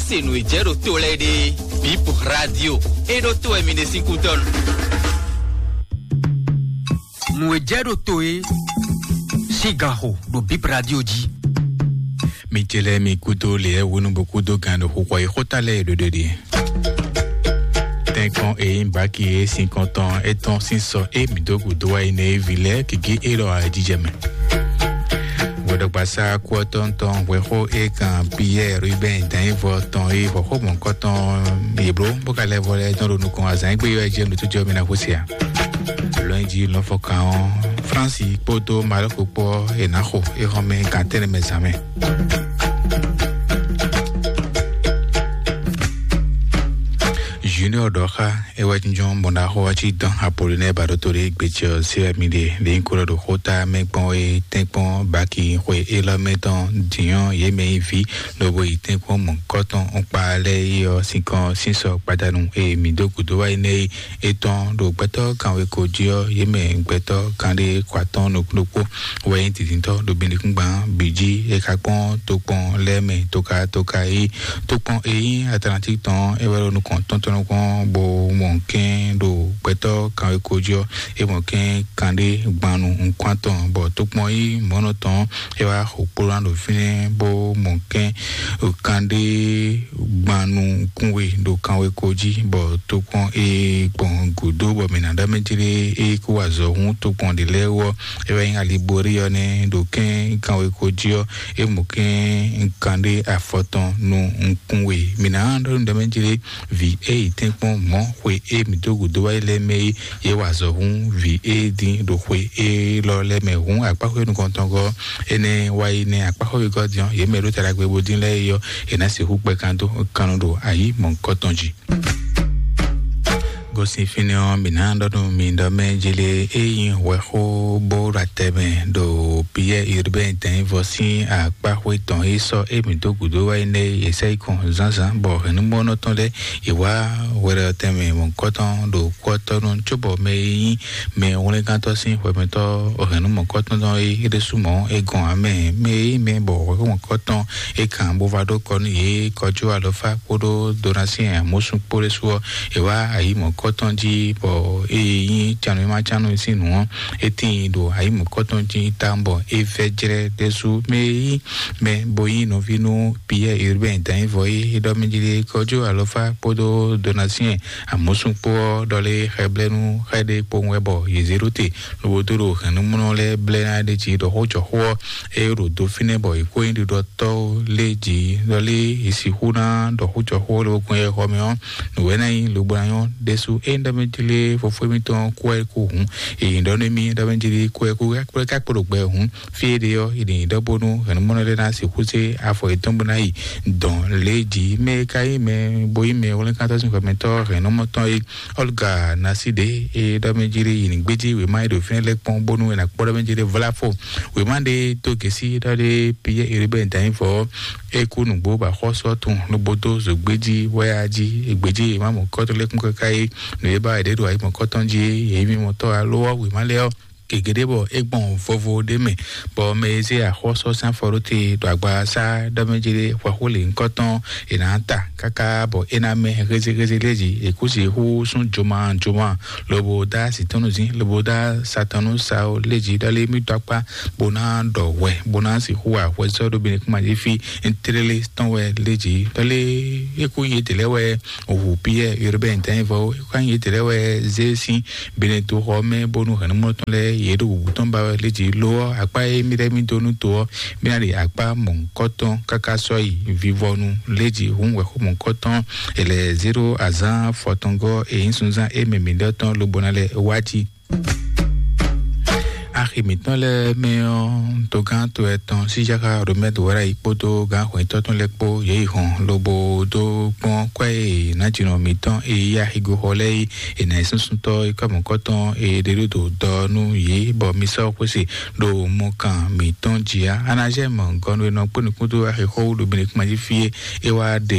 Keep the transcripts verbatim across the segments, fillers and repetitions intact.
Se nǔ e jɛ ɖo to lɛ́ɛ ɖe, Bip Radio e ɖo to wɛ mi ɖe sín kútɔ́ nu. Nǔ e jɛ ɖo to e sín ganxo ɖo Bip Radio jí. Mi ce lɛ́ɛ mi kúdó lě wúnu bó kúdó gan ɖo xixɔ e xóta lɛ́ɛ e ɖoɖo ɖe. Tɛ́nkpɔ́n e nyí baki e sin kɔntɔn étɔn sín sɔ e mǐ dó gǔdo wá yi nɛ e ví lɛ́ɛ gěgé élɔ́ ǎ jijɛ mɛ. Vodogbaza kú ɔ́ tɔn tɔn hwɛxó e kan Piyɛ́ɛ Rubɛn dǎnyívɔ tɔn e hɔxó mɔ̌kɔtɔn yě bló bó ka lɛ́ vɔ lɛ́ɛ tɔn ɖo nukɔn azǎn e gbé ɔ́ jí nǔtújɔ mi ná xwé se ǎ. Lɔnji lɔnfɔkan ɔ́, Flánsi kpódó Malɔ́ku kpó ɔ́, è nǎ xo é xɔ́mɛ gantɛ́nɛ mɛ zǎn mɛ. Junior ɖɔ xá é wɛ jínjɔ́n bɔ ná xo ɔ́ cí dɔn Apolinɛ́ɛ ba ɖó to ɖé gbecɛ ɔ́ sí wɛ mi ɖe. Lě nyí kó ɖɔ ɖo xóta mɛ gbɔn é tɛ́nkpɔ́n baki xwe élɔ́ mɛ tɔn dǐnyɔ́ yě mɛ nyí vǐ lobo yi tɛ́nkpɔ́n mɔ̌kɔtɔn kpa lɛ́ɛ yi ɔ́ sinkɔn sínsɔ gbadanu e mǐ dó gǔdo wá yi nɛ́ é tɔn ɖo gbɛtɔ́ kanweko jí ɔ́, yě mɛ gbɛtɔ́ kanɖé kɔ atɔ́ɔ́n nukún ɖokpó wɛ nyí dǐndíntɔ́ ɖo binɖíkúngban bǐ jí. É ka kpɔ́n tokpɔn lɛ́ɛ mɛ toka toka e tokpɔn e nyí Atlantík tɔn é wɛ ɖo nukɔn tɔn tɔn nukɔn bó mɔ kɛ́n ɖo gbɛtɔ́ kanweko jí ɔ́, é mɔ kɛ́n kanɖé gbanu nukún atɔn bɔ tokpɔn e nyí mɔ̌nɔ tɔn é wá xo kplɔ́ ná ɖo fínɛ́ bó mɔ kɛ́n kanɖé gbanu kún we ɖo kanweko jí, bɔ tokpɔn e gbɔn gǔdo bɔ mǐ ná ɖɔ mɛ jlé e kó wa azɔ̌ hún tokpɔn ɖě lɛ́ɛ wú ɔ́, é wɛ nyí Alibori ɔ́ nɛ́ ɖo kɛ́n kanweko jí ɔ́, é mɔ kɛ́n kanɖé afɔtɔn nukún we. Mǐ ná ɖɔ nú ɖɔ mɛ jlé vǐ e yi tɛ́nkpɔ́n mɔ̌ xwe e mǐ dó gǔdo wá yi lɛ́ɛ mɛ é yě wa azɔ̌ hún vǐ e dín ɖo xwe élɔ́ lɛ́ɛ mɛ hǔn akpáxwé nukɔntɔngɔ́ énɛ́ wá yi nɛ́ akpáxwé wegɔ́ din ɔ́, yě mɛ e ɖó ta ɖagbe bó dín lɛ́ɛ é ɔ́, è nǎ sixú kpɛ kan dó kan nu ɖo ayǐ mɔ̌hunkɔtɔn jí. Gosín fínɛ́ ɔ́, mǐ ná ɖɔ nú mi ɖɔ mɛ jlé é nyí hwɛxó bó ɖo atɛ mɛ ɖo Piyɛ́ɛ Irbɛ́n dɛ̌nvɔ sín akpáxwé tɔn e sɔ́ émí dó gǔdo wá yi nɛ́ é, yě sɛ́ yi kɔn zǎnzǎn bɔ hɛ̌nnumɔnɔ tɔn lɛ́ɛ yě wá hwɛɖɔtɛn mɛ mɔ̌hunkɔtɔn ɖo kú ɔ́ tɔ́ nu, cóbɔ mɛ e nyí mɛ hwlɛ́ngántɔ́ sín hwɛmɛtɔ́ hɛ̌nnu mɔ̌kɔtɔn tɔn é é ɖésú mɔ̌ é gɔn ǎ mɛ. Mɛ e nyí mɛ bɔ hwɛ̌ mɔ̌kɔtɔn é kan bó vá ɖó kɔ nú yě kɔjú alɔfá kpódó Donasiɛn Amosún kpó ɖésú ɔ́, è wá ayǐ mɔ̌kɔtɔn jí, bɔ é nyí canu e ma cánu sín nǔ ɔ́, é tíin ɖo ayǐ mɔ̌kɔtɔn jí tawun bɔ é vɛ́ jlɛ́ ɖésú. Mɛ e nyí mɛ bo nyí nɔví nú Piyɛ́ɛ Irbɛ́n dǎnyívɔ é é ɖɔ mɛ jí ɖe kɔjú alɔfá kpódó Donasiɛn Amosún kpó ɔ́ ɖɔ lé xɛblɛ́nú xɛ ɖé kpowun wɛ bɔ yě zé ɖó te, lobo dó ɖo hɛ̌nnumɔnɔ lɛ́ɛ blɛ́ ná ɖ'é jí ɖɔ xó jɔ xó ɔ́, é ɖo do fínɛ́ bɔ è kó nyí ɖiɖɔtɔ́ lé jí ɖɔ lé è sixú ná ɖɔ xó jɔ xó ɔ́ lobo gbɔn yɛ xɔ mɛ ɔ́, nǔ wɛ ná nyí lobo ná nyɔ́ ɖésú. Ényí ɖɔ mɛ jí lé fofó émítɔn kú wɛ kú hǔn, è nyǐ ɖɔ nú émí ɖɔ mɛ jí lé kú wɛ kú ká kpó ɖo gbɛ hǔn, fí e ɖe ɔ́, è nǐ ɖɔ bónú hɛ̌nnumɔnɔ lɛ́ɛ ná sixú zé afɔ yětɔn bó ná yi dɔn lě jí. Mɛ e ka nyí mɛ bo nyí mɛ hwlɛ́nkántɔ́ sín hwɛmɛtɔ́ hɛ̌nnumɔtɔn é, Olga Naside, e ɖɔ mɛ jí ɖe yi ní gbéjí wěma e ɖo fínɛ́ lɛ́ɛ kpɔ́n bónú è nǎ kpɔ́ ɖɔ mɛ jí ɖe vlá fo. Wěma ɖé dó gěsí ɖɔ ɖé Piyɛ́ɛ Eribɛ́n dǎnyí vɔ ɔ́, é kú nǔgbó bɔ axɔ́sú ɔ́ tunwun lobo dó zǒgbéjí wɛ a jí. È gbějí wěma mɔ̌kɔ́tɔn lɛ́ɛ kún káká é, nǔ e ba è ɖě ɖo ayǐ mɔ̌kɔ́tɔn jí é, yě mì mɔtɔ́ alo ɔ́ wěma lɛ́ɛ ɔ́, gegě ɖé bɔ é gbɔn vovo ɖé mɛ, bɔ mɛ e zé axɔ́sɔ́ sín afɔ ɖó te ɖo agba sá ɖɔ mɛ jí ɖé hwɛxó lě nyǐkɔ tɔn è nǎ ta káká bɔ é ná mɛ hézéhézé lé jí. È kú sixú sún joma joma lobo dá asi tɔn nú zín, lobo dá sa tɔn nú sa ó lé jí ɖɔ lé mì dó akpá bó ná ɖɔ hwɛ bó ná sixú wa hwɛ sɔ́ ɖó Benekuma jí fí tlélé tɔn wɛ lé jí ɖɔ lé é kú nyí etɛ́ lɛ́ɛ wɛ hu Piyɛ́ɛ Urubɛ́n dǎnyívɔ é kú nyí etɛ́ lɛ́ɛ wɛ zé sín Benetoxɔ mɛ bónú hɛ̌nnumɔ tɔn lɛ́ɛ yě ɖo wǔwú tɔn ba wɛ lé jí. Lo ɔ́, akpá e mì lɛ́ mì dó nú to ɔ́, mì ná ɖe akpá mɔ̌hunkɔtɔn káká sɔ́ yi vivɔnu lé jí hǔn wɛ̌xo mɔ̌hunkɔtɔn è lɛ̌ zé ɖó azǎn fɔtɔngɔ́ e nyí sunzán e mɛ mǐɖɔtɔn tɔn lobo ná lɛ́ wá jí. Axi mǐtɔn lɛ́ɛ mɛ ɔ́, togán to ɛtɔn Síjáka Romɛ́du wɛ ɖ'ayǐ kpódó gǎn hwɛ̌ntɔ́ tɔn lɛ́ɛ kpó yě yi hɔn lobo dó kpɔ́n kwɛ́ e nǎjínɔ mǐtɔn e yí axigoxɔ lɛ́ɛ yi è nǎ yi súnsúntɔ́ e kɔ́mɔ̌kɔ́tɔn e ɖe ɖó dó dɔ nú yě, bɔ mi sɔ́ xwé se ɖo mɔkan mǐtɔn jí ǎ. Anazɛ́mɔ gɔnu e nɔ kpó nukún dó axixɔ wú ɖo Benekuma jí fí é, é wá ɖe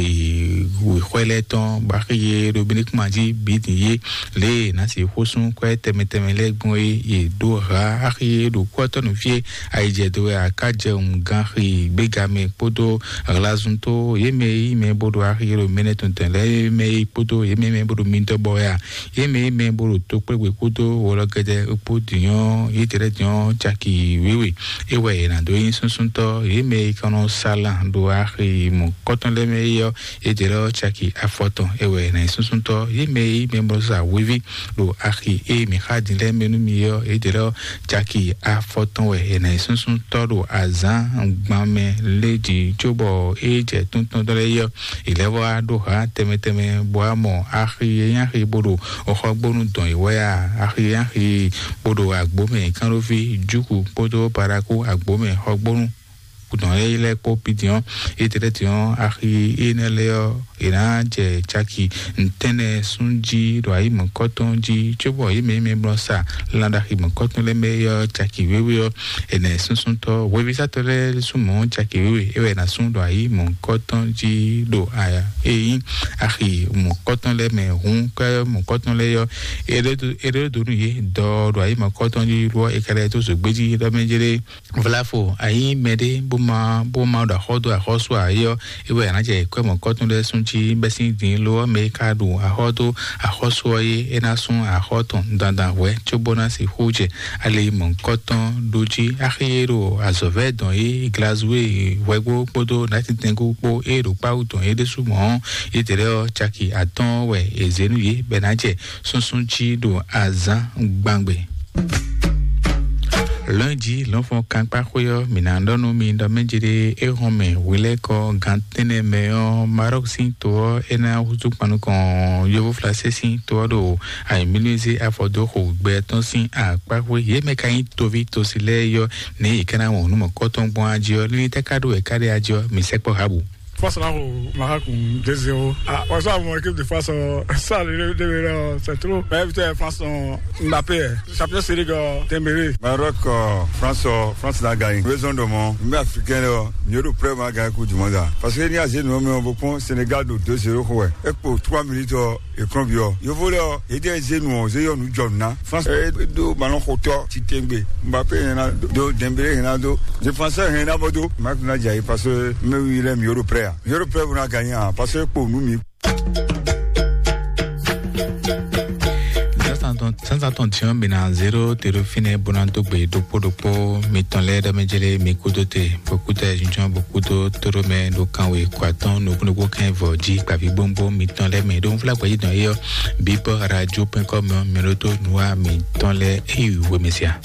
wěxwɛ lɛ́ɛ tɔn bɔ axi yé ɖo Benekuma jí bǐ din yé. Lě e è nǎ sixú sú kwɛ́ tɛnmɛ tɛnmɛ lɛ́ɛ gbɔn é, yě ɖó hǎ axi axi e ɖo kú ɔ́ tɔ́ nú fí e ayijɛ dó wɛ a ka jɛ wun ganxi gbéga mɛ kpódó hlazun tó yě mɛ e yí mɛ bó ɖo axi e ɖo mɛnɛ tɔn tɛn lɛ́ɛ mɛ e kpódó yě mɛ mɛ bó ɖo midɔbɔ wɛ a, yě mɛ e yí mɛ bó ɖo tokplégbé kpódó wɔlɔgɛdɛ kpó dǐnyɔ́ yětɛ́ lɛ́ɛ dǐnyɔ́ caki wěwe. É wɛ è nǎ dó nyí súnsúntɔ́ yě mɛ e ka nɔ sa lan ɖo axi mɔ̌kɔtɔn lɛ́ɛ mɛ é ɔ́, yětɛ́ lɛ́ɛ ɔ́ caki afɔtɔn. É wɛ è nǎ nyí súnsúntɔ́ yě mɛ e yí mɛ bó sa hweví ɖo axi e mǐ xa din lɛ́ɛ mɛ nú mi ɔ́, yětɛ́ lɛ́ɛ ɔ́ caki afɔtɔn wɛ è nǎ nyí súnsúntɔ́ ɖo azǎn gban mɛ lé jí cóbɔ é jɛ túntɔ́n lɛ́ɛ ɔ́, è lɛ́ wá ɖó hǎ tɛnmɛ tɛnmɛ bɔ a mɔ axi e nyí axi bó ɖo xɔgbónu dɔn yě wɛ a, axi e nyí axi bó ɖo agbǒ mɛ kánɖóví júku kpódó paraku agbǒ mɛ xɔgbónu dɔn yě lɛ́ɛ kpó pidiɔn, yětɛ́ lɛ́ɛ diɔn axi énɛ́ lɛ́ɛ ɔ́, è nǎ jɛ caki ntɛ́nɛ sún jí ɖo ayǐ mɔ̌kɔtɔn jí cóbɔ yě mɛ e mɛ blɔ́ sa lan ɖo axi mɔ̌kɔtɔn lɛ́ɛ mɛ é ɔ́ caki wěwe ɔ́, è nǎ súnsúntɔ́ hwevísátɔ́ lɛ́ɛ sú mɔ̌ caki wěwe é wɛ è nǎ sú ɖo ayǐ mɔ̌kɔtɔn jí ɖo aya e nyí axi mɔ̌kɔtɔn lɛ́ɛ mɛ hǔn kɛ mɔ̌kɔtɔn lɛ́ɛ ɔ́, è ɖó dó nú yě dɔ ɖo ayǐ mɔ̌kɔtɔn jí lɔ é ka lɛ́ dó zǒgbé jí ɖɔ mɛ jlé. Vlafo, a nyí mɛɖé bó ma bó ma ɖo axɔ́ dó axɔ́sú ǎ é ɔ́, é wɛ a nǎ jɛ kwɛ́ mɔ̌kɔtɔn lɛ́ɛ sún jí bɛ́ sín din lo ɔ́ mɛ e ka ɖo axɔ́ dó axɔ́sú ɔ́ é, é ná sú axɔ́ tɔn dandan hwɛ̌ cóbó ná sixú jɛ ali mɔ̌kɔtɔn ɖó jí. Axi e ɖo azɔ̌vɛ́ dɔn é Glazue hwɛgbo kpódó Nátintɛngú kpó é ɖo kpáwú dɔn é ɖésú mɔ̌ ɔ́, yětɛ́ lɛ́ɛ ɔ́ caki atɔ́ɔ́n wɛ è zě nú yě bɔ è nǎ jɛ súnsún jí ɖo azǎn gbangbe. Lɔ̌nji lɔ̌nfɔn kankpáxwé ɔ́, mǐ ná ɖɔ nú mi ɖɔ mɛjéɖé é hɔn mɛ hwilɛ́kɔ gan tɛ́nnɛ mɛ ɔ́, Marɔ́k sín to ɔ́ é ná húzú kpan nukɔn yovóflasé sín to ɔ́ ɖo ayǐmílízé afɔdóxo gbɛ tɔn sín akpáxwé. Yě mɛ ka nyí toví tosi lɛ́ɛ yɔ nɛ̌ yě ká ná wɔn nǔ mɔ̌kɔtɔn gbɔn ají ɔ́, lílí tɛ́ ká ɖó wɛ ká ɖe ají ɔ́, mǐ sɛkpɔ́ há bǔ. Face là au Maroc deux zéro. Ah, on va voir l'équipe de face, euh, ça, le, le, le, c'est trop. Mais putain, France, on, Mbappé, champion série, euh, Dembélé. Maroc, euh, France, euh, France n'a gagné. Raison de mon, mais africain, là, mieux de près, on va gagner Coupe du Monde, là. Parce que il y a zéro, mais on va prendre Sénégal de deux zéro, quoi. Et pour trois minutes, euh, écran viol. Yo volé, euh, et des zéro, zéro, nous, John, là. France, euh, do ballon, hauteur, Titengbe. Mbappé, il y en a deux, Dembélé, il y en a deux. Défenseur, il y en a deux. Marc Nadjaï, parce que, mais oui, il est mieux de près, hein. Yɔrɔ pɛrɛ bɛna ganyan, parce que kpo nu mi. Sansan tɔn tiɲɔ mina zero tero fine bona dogbe dokpo dokpo mitɔn lɛ dɔ mɛ jele mi kudo te bokuta junjɔn bokudo toro mɛ do kanwe kwatɔn nukun dokpo kɛn vɔ ji kpavi bombo mitɔn lɛ mɛ do nfla gbaji dɔn eyɔ bibɔ radio pɛnkɔ mɛ mɛ do to nua mitɔn lɛ eyi wemɛsia.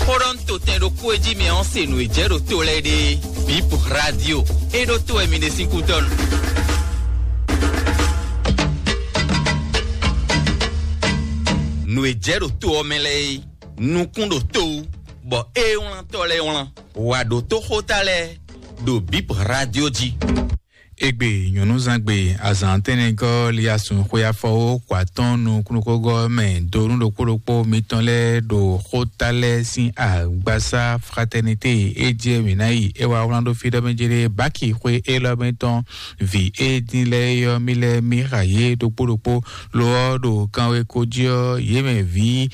Xó ɖɔ nú totɛn ɖokpó e jí mɛ ɔ́ se nǔ e jɛ ɖo to lɛ́ɛ ɖe. Bip Radio e ɖo to wɛ mi ɖe sín kútɔ́ nu. Nǔ e jɛ ɖo to ɔ́ mɛ lɛ́ɛ é, nukún ɖo to wú, bɔ é wlántɔ́ lɛ́ɛ wlán. Wǎ ɖótó xóta lɛ́ɛ ɖo Bip Radio jí. Egbe nyɔ̌nuzangbe azǎn tɛnɛgɔ́ liasun xwe afɔwó kɔ atɔ́n nukúnnukógɔ́ mɛ dó nú ɖokpó ɖokpó mitɔn lɛ́ɛ ɖo xóta lɛ́ɛ sín agbasá Fraternité e jɛ mǐ ná yi é wá wlán ɖó fí ɖɔ mɛ jéré báki xwe élɔ́ mɛ tɔn vǐ e dín lɛ́ɛ ylɔ́ mì lɛ́ɛ mì xa yě ɖokpó ɖokpó. Lo ɔ́, ɖo kanweko jí ɔ́, yě mɛ vǐ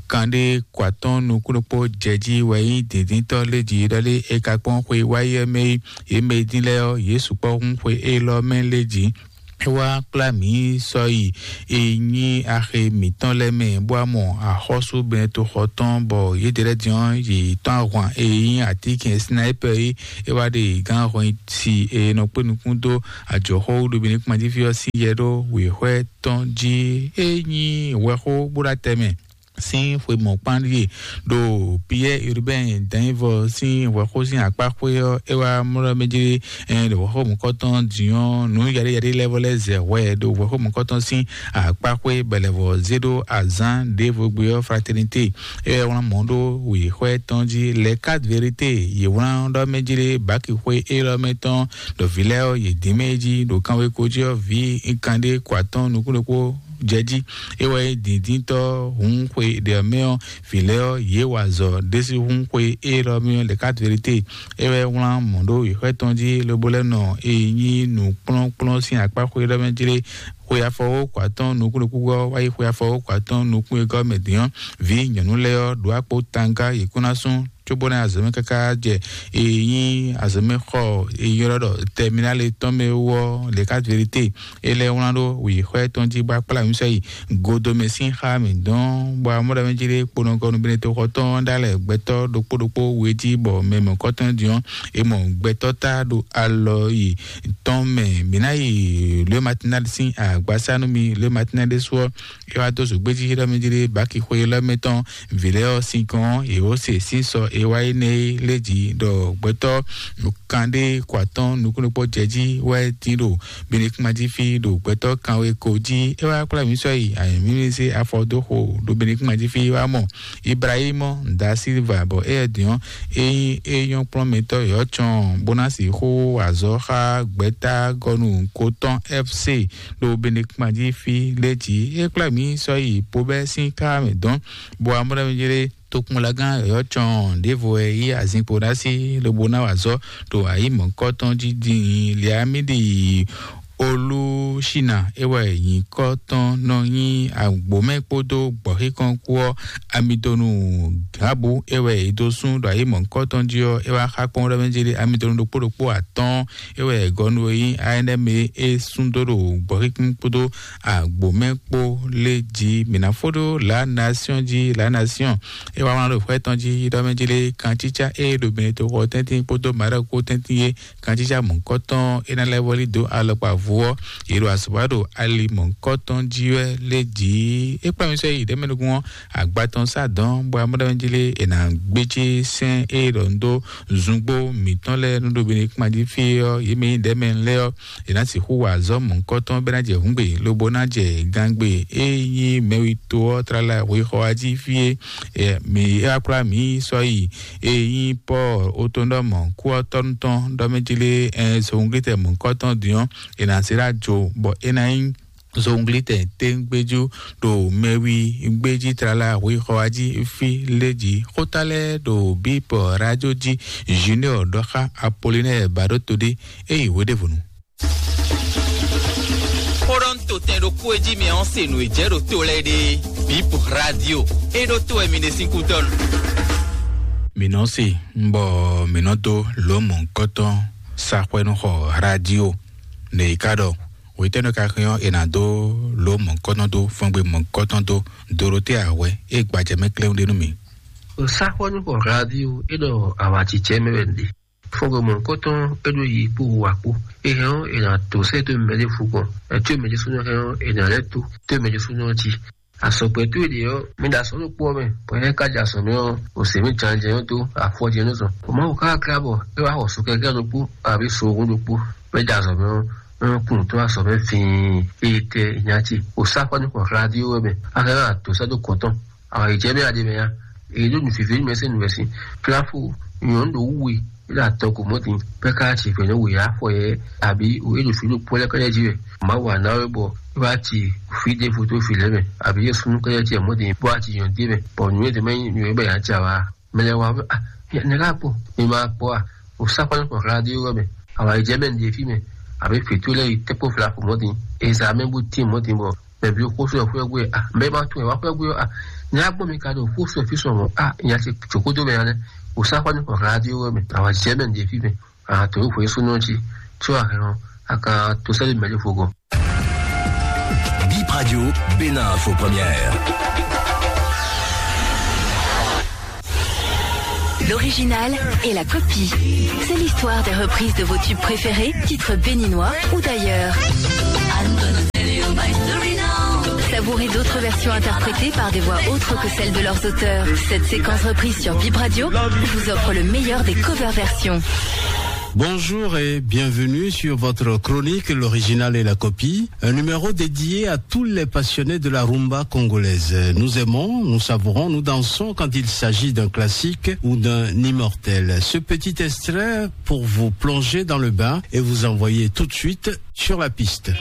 kanɖé kɔ atɔ́n nukúnnukpó jɛ jí wɛ nyí dǐndíntɔ́ lé jí ɖɔ lé è ka kpɔ́n xwe wáyi ɔ́ mɛ é. Yě mɛ e dín lɛ́ɛ ɔ́, yě sukpɔ́ hún xwe élɔ́ mɛ lé jí. É wá kplá mǐ sɔ́ yi e nyí axi mǐtɔn lɛ́ɛ mɛ, bó wá mɔ axɔ́sú Bɛnɛtoxɔ tɔn, bɔ yědɛɛ lɛ́ɛ din ɔ́, yě tɔ́n ahwan e nyí atínkɛn Sinayípɛ é. É wá ɖe gǎn hɔnsi e nɔ kpé nukún dó ajɔ̌xɔ́wúɖobǐnikpɔ́n jí fí ɔ́ sín yɛ ɖó wěxwɛ́ tɔn jí. É nyí hwɛxó bó ɖo atɛ mɛ sín xwe mɔ̌kpán ɖíe ɖo Piyɛ́ɛ Urbain Danyivɔ sín hwɛxó sín akpá xwé ɔ́, é wá mlɔ́ mɛ jí, ɛ, ɖo hwɛxó mɔ̌kɔtɔn din ɔ́, nǔ yaɖé yaɖé lɛ́ɛ vɔ lɛ́ɛ zɛ hwɛ ɖo hwɛxó mɔ̌kɔtɔn sín akpá xwé bɛlɛvɔ zé ɖó azǎn ɖěvo gbe ɔ́, Fraternité, é wá wlán mɔ̌ ɖó wěxwɛ́ tɔn jí. Les Quatre Vérités, yě wlán ɖɔ mɛ jí ɖé báki xwé élɔ́ mɛ tɔn ɖo vǐ lɛ́ɛ ɔ́, yě dín mɛ jí ɖo kanweko jí ɔ́, vǐ kanɖé kɔ atɔ́n nukún ɖokpó jɛ jí. É wɛ nyí dǐndíntɔ́ hun xwe ɖě ɔ́ mɛ ɔ́, vǐ lɛ́ɛ ɔ́, yě wa azɔ̌ ɖésú hun xwe élɔ́ mɛ ɔ́, lɛ̌ ká vérité. É wɛ wlán mɔ̌ ɖó yěxwɛ́ tɔn jí, lobo lɛ́ nɔ e nyí nǔkplɔ́nkplɔ́n sín akpá xwe élɔ́ mɛ jlé. Xwe afɔwókɔ atɔ́ɔ́n nukún ɖokpó ɔ́ wá yi xwe afɔwókɔ atɔ́ɔ́n nukún wegɔ́ mɛ din ɔ́, vǐ nyɔ̌nu lɛ́ɛ ɔ́ ɖo akpó tanga yě kún ná sún, cóbónɔ azɔ̌mɛ káká jɛ e nyí azɔ̌mɛ xɔ e ylɔ́ ɖɔ tɛminál tɔn mɛ wú ɔ́, lě ká vérité. É lɛ́ wlán ɖó wǐxwɛ́ tɔn jí bó akplá wínsɔ yi godomɛ sín xá mǐ dɔn, bɔ amɔ́ɖamɛ jí ɖé kponɔgɔnu benetoxɔ tɔn ɖó alɛ gbɛtɔ́ ɖokpó ɖokpó we jí, bɔ mɛ mɔ̌kɔtɔn din ɔ́, è mɔ gbɛtɔ́ ta ɖo alɔ yi tɔn mɛ. Mǐ ná yi le matinal sín agbasá nú mi le matinal ɖésú ɔ́, é wá dó zǒgbéjí élɔ́ mɛ jí ɖé báki xwe élɔ́ mɛ tɔn, vǐ lɛ́ɛ ɔ́ sin kɔn yě wó se sín sɔ e wá yi nɛ é lé jí ɖɔ gbɛtɔ́ kan ɖé kɔ atɔ́ɔ́n nukúnnukpó jɛ jí wɛ tín ɖo Benekuma jí fí ɖo gbɛtɔ́ kanwe ko jí. É wá kplá mǐ sɔ́ yi anyǔmímísí afɔ dó xo ɖo Benekuma jí fí wá mɔ Ibrahímɔ da Silva, bɔ éyɛ́ din ɔ́, é nyí é nyɔ́ kplɔ́nmɛtɔ́ yɔ̌ cɔn bó ná sixú azɔ̌ xá gbɛ̌ta gɔnu ko tɔn F C ɖo Benekuma jí fí lé jí. É kplá mǐ sɔ́ yi Pobɛ́ sín ká mɛ dɔn, bɔ amɔ́ɖamɛ jí ɖé tokpɔnlagán yɔ̌ cɔn ɖěvo wɛ yí azinkpo ná sí lobo ná wa azɔ̌ ɖo ayǐ mɔ̌kɔ́tɔn jí din Liamídi Olúṣínà. É wɛ nyǐkɔ tɔn nɔ nyí agbǒmɛ kpódó gbɔ̌xíkɔn kpó ɔ́, Amidonu Gǎbu. É wɛ è dó sún ɖo ayǐ mɔ̌kɔ́tɔn jí ɔ́, é wá xá kpɔ́n ɖɔ mɛ jí ɖé Amidonu ɖokpó ɖokpó atɔ́ɔ́n. É wɛ gɔnu e nyí A N M e é sún dó ɖo gbɔ̌xíkún kpódó agbǒmɛ kpó lé jí. Mǐ ná fó ɖó La Nation jí, La Nation. É wá wlán ɖo xwɛ tɔn jí ɖɔ mɛ jí lé kantítsá é ɖo Benetoxɔ tɛ́ntin kpódó Maroc kpó tɛ́ntin é kantítsá mɔ̌kɔtɔn é ná lɛ́ vɔ́lí dó alɔkpa vo ɔ́, yě ɖo azɔ̌ wa ɖo ali mɔ̌kɔtɔn jí wɛ lé jí. É kplá mi sɔ́ yi ɖɛ̌mɛnukún ɔ́, agba tɔn sá dɔn bɔ amɔ́ ɖɔ mɛ jí lé è nǎ gbéjé sɛ́n é ɖɔ nú dó zungbo mǐtɔn lɛ́ɛ nú ɖo Benekuma jí fí ɔ́, yě mɛ nyí ɖɛ̌mɛ lɛ́ɛ ɔ́, è nǎ sixú wa azɔ̌ mɔ̌hunkɔtɔn bɔ é ná jɛ hǔngbe, lobo ná jɛ gangbe e nyí mɛwito ɔ́ tlala hwexɔ wá jí fí é. Ɛ, mǐ é wá kplá mǐ sɔ́ yi e nyí Pɔ́ɔl otɔ́nɖɔmɔ kú ɔ́ tɔ́nú tɔn ɖɔ mɛ jí lé ɛ, zowunglitɛ mɔ̌hunkɔtɔn din ɔ́, è nǎ zé ɖó ajo bɔ é ná nyí zowunglitɛ téŋgbéjú ɖo mɛwi gbéjí tlala hwexɔ wá jí fí lé jí. Xóta lɛ́ɛ ɖo bípɔ rájó jí. Junior ɖɔ xá Apolinɛ́ɛ bǎ ɖó to ɖé é yi hweɖěvɔnu. Xó ɖɔ un to tɛn ɖokpó e jí mi ɔ́ se nǔ e jɛ ɖo to lɛ́ɛ ɖe. Bip radio e ɖo to wɛ mi ɖe sín kúdɔnu. Mi nɔ se, bɔ mi nɔ dó lǒ mɔ̌hunkɔtɔn sa xwɛ nú xɔ radio. Nɛ yi ka ɖɔ wětɛ́nɔ ka hɛn ɔ́, è nǎ dó lǒ mɔ̌hunkɔtɔn dó fɔ́ngbe mɔ̌hunkɔtɔn dó Dorotéa hwɛ e gbajɛ mɛ kléwún ɖe nú mi. Saxɔnu xɔ radio e ɖɔ awacicɛ mɛ wɛ ɖe. Fɔ́ngbe mɔ̌hunkɔtɔn e ɖo yi kpó wa kpó. E hɛn ɔ́, è nǎ dó sɛ́ dó mɛ ɖěvo gɔ́n. Ɛtú e mɛ ɖésúnɔ hɛn ɔ́, è nǎ lɛ́ tó tó e mɛ ɖésúnɔ jí. Azɔ̌gbɛ́ towe ɖě ɔ́, mi ɖo azɔ̌ ɖokpó ɔ́ mɛ, bɔ éyɛ́ ka jɛ azɔ̌ mɛ ɔ́, o se mɛ jɛnjɛn ɔ́ dó afɔ jɛ nú zɔn. O Mawu ka ká bɔ é wá xɔ so kɛkɛ́ ɖokpó, abǐ so ohun ɖokpó, bɔ é jɛ azɔ̌ mɛ ɔ́, é nɔ kun tó azɔ̌ mɛ fĩin, eye tɛ nya ce. O sá xɔ nú xɔ radio ɔ́ mɛ, a ka ná dǒ sɛ́ dó gɔ̌n tɔn. Awǎ yi jɛ mɛ a ɖe mɛ ya. Èyí ɖo nǔ vǐvɛ́ mɛ sín nǔ wɛ sín. Fláfo nyɔ̌nu ɖo wú we, é ɖo atɔgo mɔ̌ din, bɔ é ka ná ci vɛ̌ nú we afɔ yɛ, abǐ é ɖo fǐ ɖo kpɔ́ lɛ́ɛ kɛ́ɖɛ́ jí wɛ. Mawu wǎ ná wɛ bɔ é wá ci fí ɖěvo dó vǐ lɛ́ɛ mɛ, abǐ é súnnu kɛ́ɖɛ́ jí wɛ mɔ̌ din, bó wá ci nyɔ̌nu ɖé mɛ, bɔ nǔ e ɖě mɛ nyí nǔ e bɔ è nǎ jɛ awǎ. Mɛ lɛ́ɛ wá bɔ, ah, nɛ̌ ká kpɔ́? Mi ma kpɔ́ a? O sá kpɔ́ nú xɔ radio ɔ́ mɛ. Awǎ yi jɛ mɛ ɖě fí mɛ, abǐ vǐ towe lɛ́ɛ yi tɛ́ kpó Fláfo mɔ̌ din. Ezǎ mɛ bó tín mɔ̌ din bɔ mɛ bǐ xóso ɛ xwɛ gbe a, mɛ ma tunwun ɛ wá xwɛ gbe ɔ́ a, nya gbɔn mi ka ɖo xóso ɛ fí sɔn mɔ̌ a, nya ce jǒ xódó mɛ nya lɛ́ɛ. O sá xɔ nú xɔ radio ɔ́ mɛ, awǎ jɛ mɛ ɖě fí mɛ, a to xwe súnɔ jí, có a hɛn ɔ́, a ka to sɛ́ ɖo mɛ ɖěvo gɔ́n. Bip Radio, Bénin Info Première. L'original et la copie. C'est l'histoire des reprises de vos tubes préférés, titres béninois ou d'ailleurs. Savourez d'autres versions interprétées par des voix autres que celles de leurs auteurs. Cette séquence reprise sur Bip Radio vous offre le meilleur des cover versions. Bonjour et bienvenue sur votre chronique, l'original et la copie, un numéro dédié à tous les passionnés de la rumba congolaise. Nous aimons, nous savourons, nous dansons quand il s'agit d'un classique ou d'un immortel. Ce petit extrait pour vous plonger dans le bain et vous envoyer tout de suite sur la piste.